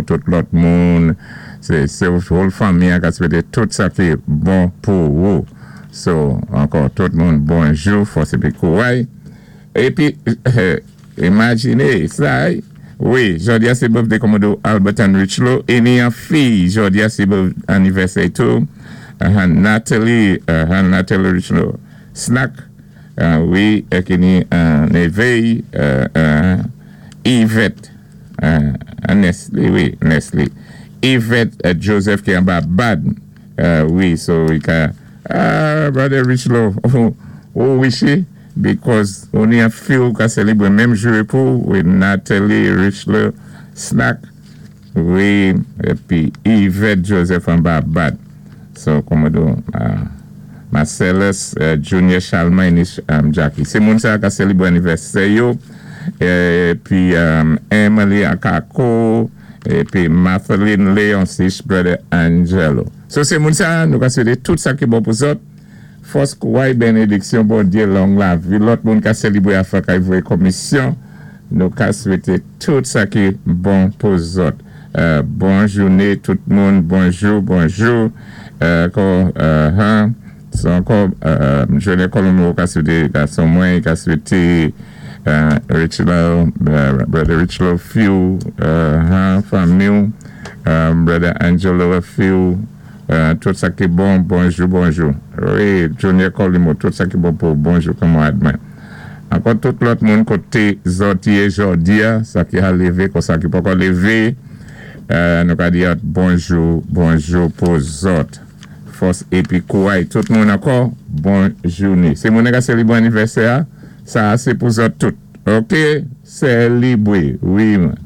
Ankò tout lòt moun, sé whole fanmi an ka swété tout sa ki bon pou ou. So, ankò tout moun bonjou, fòs épi kouray. Épi, imajiné sa, wi, jòdi a sé birthday Commodore Albertan Richlow, é ni an fi, jòdi a sé anivèsè tou, Natalie Richlow, Snack, wi, ki ni névé, Yvette, Nestle, wi, Nestle, Yvette Joseph ki anba Bad, wi, so i ka, ah, Brother Richlow, ou wish because ou ni an fi ou ka sélébwé menm jou pou, wi, Natalie Richlow, Snack, wi, épi Yvette Joseph anba Bad. So, Commodore Marcellus Junior Charlemagne, Jackie. Sé moun sa ka sélébwé anivèsè yo. Épi Emily Akako, épi Matheline Leoncis, Brother Angelo. So, sé moun sa, nou ka swété tout sa ki bon pou zòt. Fòs, kouray, bénédiksyon, Bondyé, long lavi. Lòt moun ka sélébwé afè kay voyé komisyon. Nou ka swété tout sa ki bon pou zòt. Bon jouné tout moun, bonjou, bonjou. Ankò, so ankò, Junior Colombo ka swété gason mwen, ka swété Richlow, Brother Richlow Few, fanmi, Brother Angelo Few, tout sa ki bon, bonjou, bonjou. Wi, Junior Colimo, tout sa ki bon pou bonjou kanmarad mwen. Ankò tout lòt moun koté zòt yé jòdi a, sa ki a lévé, kon sa ki poko lévé, nou ka di bonjou, bonjou pou zòt. Fòs épi kouray tout moun ankò, bon jouné. Sé moun ka sélébwé anivèsè a, sa sé pou zòt tout. Ok, sélébwé, wi man.